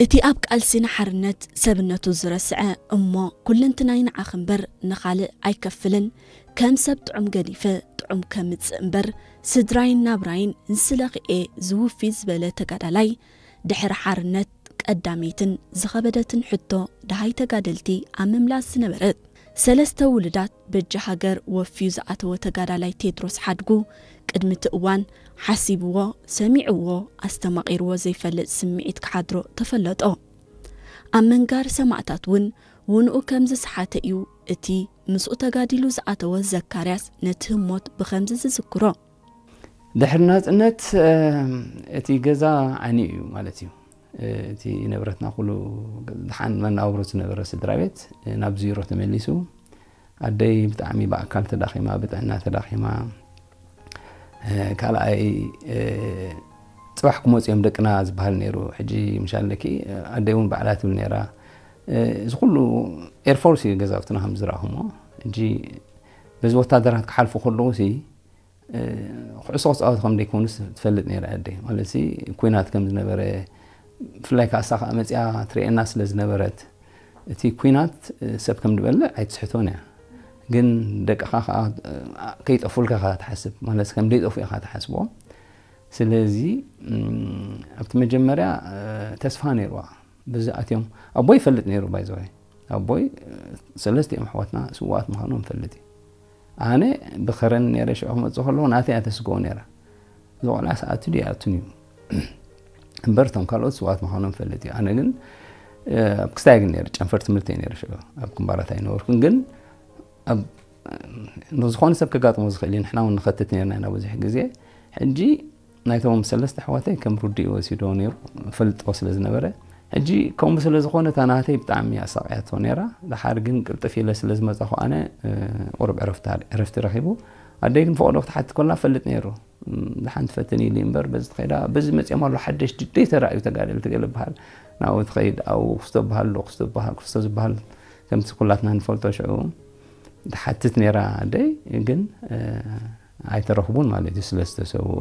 እቲ ኣብ ቃልሲ ንሓርነት ሰብነቱ ዝረስዐ እሞ ኩለንትናይ ንዓኺ እምበር ንኻልእ ኣይከፍልን፣ ከም ሰብ ጥዑም ገዲፈ ጥዑም ከምጽእ እምበር ስድራይን ናብራይን ንስለኺ እየ ዝውፊ ዝበለ ተጋዳላይ፣ ድሕሪ ሓርነት ቀዳመይትን ዝኸበደትን ሕቶ ደሃይ ተጋደልቲ ኣብ ምምላስ ዝነበረት፣ ሰለስተ ውሉዳት በጃ ሃገር ወፍዩ ዝኣተወ ተጋዳላይ ቴድሮስ ሓድጉ፣ ቅድሚ እቲ እዋን ሓሲብዎ፣ ሰሚዕዎ፣ ኣስተማቒርዎ ዘይፈልጥ ስምዒት ክሓድሮ ተፈለጦ። ኣብ ምንጋር ሰማእታት እውን ውንኡ ከም ዝሰሓተ እዩ እቲ ምስኡ ተጋዲሉ ዝኣተወ ዘካርያስ ነቲ ህሞት ብኸምዚ ዝዝክሮ። ድሕሪ ናጽነት፣ እ፣ እቲ ገዛ ዓንዩ እዩ ማለት እዩ። እ፣ እቲ ንብረትና ኩሉ፣ ድሓን መናብሮ ዝነበረ ስድራ ቤት፣ እ፣ ናብ ዜሮ ተመሊሱ። ኣደይ ብጣዕሚ ብኣካል ተዳኺማ፣ ብጥዕና ተዳኺማ። እ፣ ካልኣይ፣ እ፣ ጽባሕ ክመጹ እዮም ደቅና ዝበሃል ነይሩ። ሕጂ ምሽ ኣለኪ፣ እ፣ ኣደይ እውን ባዕላ ትብል ነይራ። እ፣ እዚ ኩሉ ኤርፎርስ እዩ ገዛውትና ከም ዝረኣኹሞ። ሕጂ በዚ ወታደራት ክሓልፉ ከለዉ ሲ፣ እ፣ ኩዕሶ ክጻወቱ ከም ደይኮኑስ ትፈልጥ ነይራ ኣደይ። ማለት ሲ፣ ኲናት ከም ዝነበረ፣ ብፍላይ ከኣ እሳ ከኣ መጺኣ ትርእየና ስለ ዝነበረት፣ እቲ ኲናት፣ እ፣ ሰብ ከም ዝበልዕ ኣይትስሕቶን እያ። ግን ደቅኻ ከኣ፣ እ፣ ከይጠፉልካ ኢኻ ትሓስብ። ማለት ከም ደይጠፉ ኢኻ ትሓስቦ። ስለዚ፣ እም፣ ኣብቲ መጀመርያ፣ እ፣ ተስፋ ነይርዋ። በዚ ኣትዮም፣ ኣቦይ ይፈልጥ ነይሩ፣ ባይ ዘ ወይ። ኣቦይ፣ እ፣ ሰለስቲኦም ኣሕዋትና ስዉኣት ምዃኖም ይፈልጥ እዩ። ኣነ ብኸረን ነይረ፣ ሽዑ ክመጽእ ከለኹ ናተይ እያ ተስግኦ ነይራ። እዚ ቆልዓ ሰኣቱ ድዩ ኣይኣቱን እዩ። እምበር እቶም ካልኦት ስዉኣት ምዃኖም ይፈልጥ እዩ። ኣነ ግን፣ እ፣ ኣብ ክስታይ ግን ነይረ፣ ጨንፈር ትምህርቲ እየ ነይረ ሽዑ። ኣብ ግንባራት ኣይነበርኩን። ግን ኣብ፣ ንዝኾነ ሰብ ከጋጥሞ ዝኽእል እዩ። ንሕና እውን ንኸትት ነይርና ኢና ብዙሕ ግዜ። ሕጂ ናይቶም ሰለስተ ኣሕዋተይ ከም ርዱእ ወሲዶ ነይሩ፣ ፈልጦ ስለ ዝነበረ። ሕጂ ከምኡ ስለ ዝኾነ እታ ናተይ ብጣዕሚ ኣሳቕያቶ ነይራ። ደሓር ግን ቅልጥፍ ኢለ ስለ ዝመጻኹ ኣነ፣ እ፣ ቁሩብ ዕረፍቲ፣ ዕረፍቲ ረኺቡ። ኣደይ ግን ፈቐዶ ክትሓትት ከላ ፈልጥ ነይሩ። እም፣ ደሓን ትፈትን ኢሉ እምበር በዚ ትኸይዳ፣ በዚ መጺኦም ኣሎ ሓደሽ ድደይ ተራእዩ ተጋደልቲ ገለ በሃል። ናብኡ ትኸይድ፣ ኣብኡ ክስቶ በሃል ኣሎ፣ ክስቶ በሃል፣ ክስቶ ዝበሃል ከምቲ ኩላትና ንፈልጦ ሽዑ ትሓትት ነይራ ኣደይ፣ ግን፣ እ፣ ኣይተረኽቡን ማለት እዩ ስለ ዝተሰውኡ።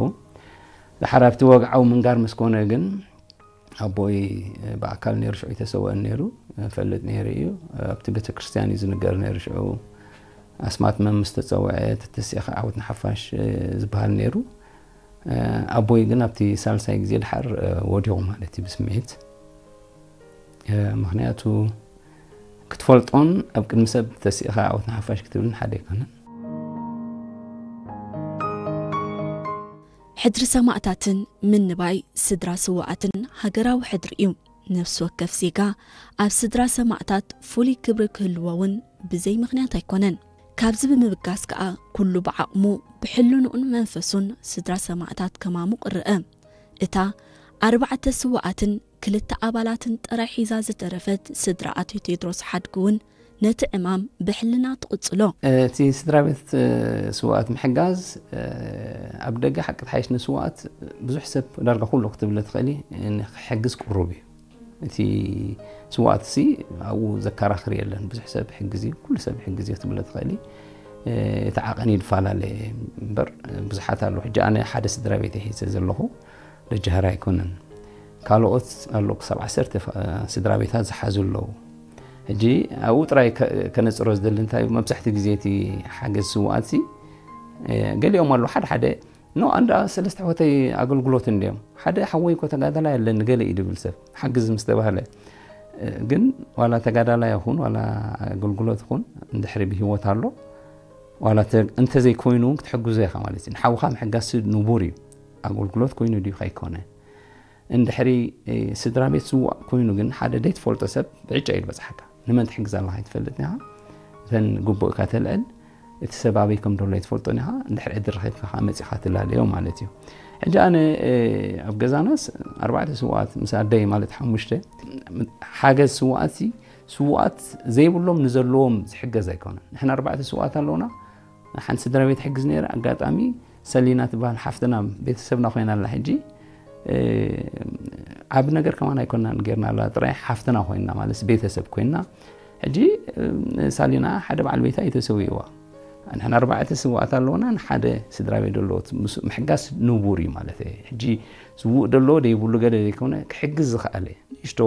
ደሓር ኣብቲ ወግዓዊ ምንጋር ምስ ኮነ ግን ኣቦይ፣ እ፣ ብኣካል ነይሩ ሽዑ ኣይተሰወአን ነይሩ፣ እ፣ ፈልጥ ነይሩ እዩ። ኣብቲ ቤተክርስትያን እዩ ዝንገር ነይሩ ሽዑ። ኣስማት መን ምስ ተጸውዐ፣ ተተሲእኻ ዓወት ንሓፋሽ፣ እ፣ ዝበሃል ነይሩ። እ፣ ኣቦይ ግን ኣብቲ ሳልሳይ ግዜ ደሓር፣ እ፣ ወዲቑ ማለት እዩ ብስምዒት። እ፣ ምኽንያቱ ክትፈልጦን ኣብ ቅድሚ ሰብ ተሲእኻ ዓወት ንሓፋሽ ክትብልን ሓደ ኣይኮነን። ሕድሪ ሰማእታትን ምንባይ ስድራ ስውኣትን ሃገራዊ ሕድሪ እዩ። ነፍሲ ወከፍ ዜጋ ኣብ ስድራ ሰማእታት ፍሉይ ክብሪ ክህልዎ እውን ብዘይ ምኽንያት ኣይኮነን። ካብዚ ብምብጋስ ከኣ ኩሉ ብዓቕሙ ብሕልንኡን መንፈሱን ስድራ ሰማእታት ከማሙቕ ይረአ። እታ ኣርባዕተ ስውኣትን ክልተ ኣባላትን ጥራይ ሒዛ ዝተረፈት ስድራ ኣቶ ቴድሮስ ሓድጉ እውን ነቲ ዕማም ብሕልና ትቕጽሎ። እቲ ስድራ ቤት፣ እ፣ ስውኣት ምሕጋዝ፣ እ፣ ኣብ ደገ ሓቂ ተሓይሽ ንስውኣት ብዙሕ ሰብ ዳርጋ ኩሉ ክትብለ ትኽእሊ፣ እ፣ ንክሕግዝ ቅሩብ እዩ። እቲ ስውኣትሲ ኣብኡ ዘከራኽር የለን። ብዙሕ ሰብ ይሕግዝ እዩ፣ ኩሉ ሰብ ይሕግዝ እዩ ክትብለ ትኽእሊ። እ፣ እቲ ዓቐን ይፈላለ እምበር ብዙሓት ኣለዉ። ሕጂ ኣነ ሓደ ስድራ ቤት እየ ሒዘ ዘለኹ፣ ደጃህር ኣይኮነን። ካልኦት ኣለዉ፣ ክሳብ ዓሰርተ ፋ-፣ ስድራ ቤታት ዝሓዙ ኣለዉ። ሕጂ ኣብኡ ጥራይ ከ-፣ ከነጽሮ ዝደሊ እንታይ እዩ፣ መብዛሕትኡ ግዜ እቲ ሓገዝ ስውኣትሲ፣ እ፣ ገሊኦም ኣለዉ፣ ሓደ ሓደ ኖ፣ ኣንዳ ሰለስተ ኣሕዋተይ ኣገልግሎት እንድዮም። ሓደ ሓወይ እኮ ተጋዳላይ ኣለኒ ገለ እዩ ድብል ሰብ። ሓግዝ ምስ ተባህለ፣ እ፣ ግን ዋላ ተጋዳላይ ይኹን ዋላ ኣገልግሎት ይኹን እንድሕሪ ብህይወት ኣሎ፣ ዋላ ተ-፣ እንተዘይኮይኑ እውን ክትሕግዞ ኢኻ ማለት እዩ። ንሓውኻ ምሕጋዝ ንቡር እዩ። ኣገልግሎት ኮይኑ ድዩ ከይኮነ። እንድሕሪ፣ እ፣ ስድራ ቤት ስዋእ ኮይኑ ግን ሓደ ዘይትፈልጦ ሰብ ብዕጫ እዩ ዝበጽሓካ። ንመን ትሕግዝ ኣለኻ ኣይትፈልጥን ኢኻ። እተን ግቡእካ ተልዕል፣ እቲ ሰብ ኣበይ ከም ዘሎ ኣይትፈልጦን ኢኻ። እንድሕሪ ዕድል ረኺብካ ከኣ መጺኻ ትላለዮ ማለት እዩ። ሕጂ ኣነ፣ እ፣ ኣብ ገዛናስ ኣርባዕተ ስውኣት ምስ ኣደይ ማለት ሓሙሽተ፣ ሓገዝ ስውኣትሲ፣ ስውኣት ዘይብሎም ንዘለዎም ዝሕገዝ ኣይኮነን። ንሕና ኣርባዕተ ስውኣት ኣለውና። ሓንቲ ስድራ ቤት ሕግዝ ነይረ። ኣጋጣሚ ሰሊና ትበሃል ሓፍትና ቤተሰብና ኮይና ኣላ። ሕጂ፣ እ፣ ዓቢ ነገር ከማን ኣይኮናን ጌርና ኣላ። ጥራይ ሓፍትና ኮይና ማለት ቤተሰብ ኮይና። ሕጂ፣ እ፣ ሳሊና ሓደ በዓል ቤታ እዩ ተሰዊእዋ። ንሕና ኣርባዕተ ስውኣት ኣለውና፣ ንሓደ ስድራ ቤት ዘሎ ምስ-፣ ምሕጋዝ ንቡር እዩ ማለት እዩ። ሕጂ ስዉእ ደሎ ደይብሉ ገለ ዘይኮነ፣ ክሕግዝ ዝኸኣለ ንእሽቶ